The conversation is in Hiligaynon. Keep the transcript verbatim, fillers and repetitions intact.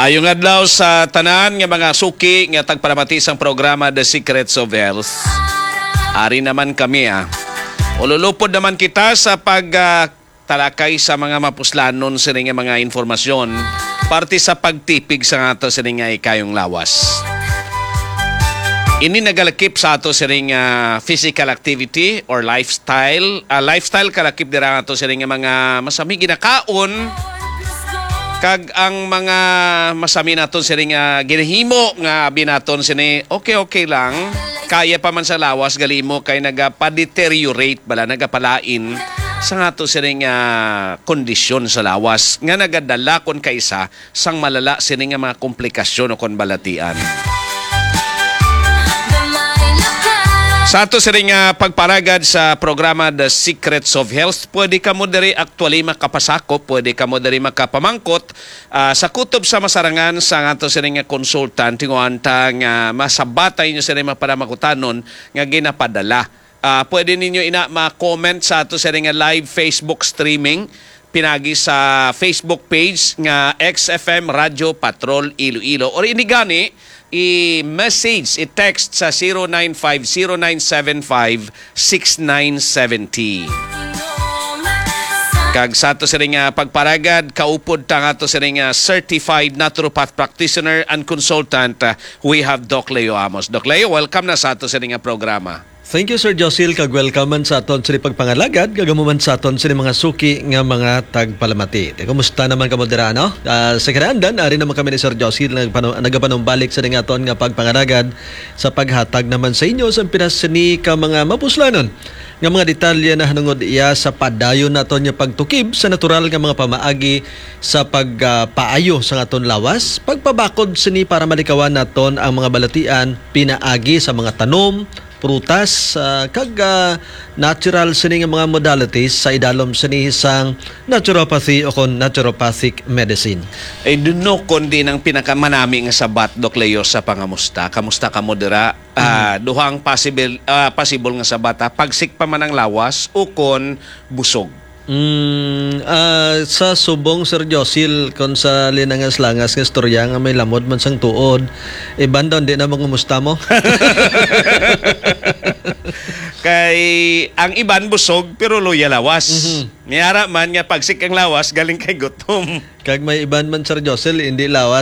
Ayong adlaw sa tanan nga mga suki nga tagpalamati sang programa The Secrets of Health. Ari naman kami, ah. Ululupod naman kita sa pag, ah, talakay sa mga mapuslanon sini nga mga informasyon parte sa pagtipig sa ato sini nga ikayong lawas. Ini nagalakip sa ato sini nga physical activity or lifestyle. Ah, lifestyle kalakip dira nga ato sini nga mga masami ginakaon, kag ang mga masami naton sini nga ginahimo nga abi naton sini okay-okay lang, kaya pa man sa lawas, gali mo kay nagapadeteriorate bala, nagapalain sa nga ato sini nga kondisyon sa lawas nga nagadala kon kaisa sang malala sini nga mga komplikasyon o kon balatian. Sa ato sini nga pagparagad sa programa The Secrets of Health, pwede kamo diri actually makapasakop, pwede kamo diri makapamangkot, ah, sa kutob sa masarangan sa ato sini nga consultant, tinguhaan ta nga masabatay nyo sini mga panamangkutanon nga ginapadala. Ah, pwede ninyo ina ma-comment sa ato sini nga live Facebook streaming pinagi sa Facebook page nga X F M Radio Patrol Iloilo, or ini gani i-message, i-text sa zero nine five zero nine seven five six nine seven zero. Kag sa ato sini nga pagparagad, kaupod ta nga ato sini nga certified naturopath practitioner and consultant, uh, we have Doc Leo Amos. Doc Leo, welcome na sa ato sini nga programa. Thank you, Sir Josil, kag welcome man sa aton sini pagpangalagad, kag amo man sa aton sini mga suki nga mga tagpalamati. Te, kumusta naman kamo dira, no? Ah, sa kinaandan, ari naman kami ni Sir Josil nagpanu-, nagapanumbalik sa aton nga pagpangalagad sa paghatag naman sa inyo sa pinas sini ka mga mapuslanon nga mga detalye nahanungod iya sa padayon naton nga pagtukib sa natural nga mga pamaagi sa pag, ah, paayo sa aton lawas, pagpabakod sini para malikawan naton ang mga balatian pinaagi sa mga tanom, prutas, ah, kag, ah, natural sini nga mga modalities sa idalom sini sang naturopathy o kon naturopathic medicine. Ay, duno kundi ang pinakamanami nga sabat, Doc Leo, sa pangamusta. Kamusta kamo dira? Ah, Mhm. Duhang possible, ah, possible nga sabat, ha? Pagsik pa man ang lawas o kon busog. Mm, ah, sa subong, Sir Josil, kon sa linangas-langas nga istorya nga may lamod man sang tuod, iban daw, di na mangumusta mo? Kay ang iban busog, pero luya lawas. Mhm. May ara man nga pagsik ang lawas, galing kay gutom. Kag may iban man, Sir Josil, hindi lawas.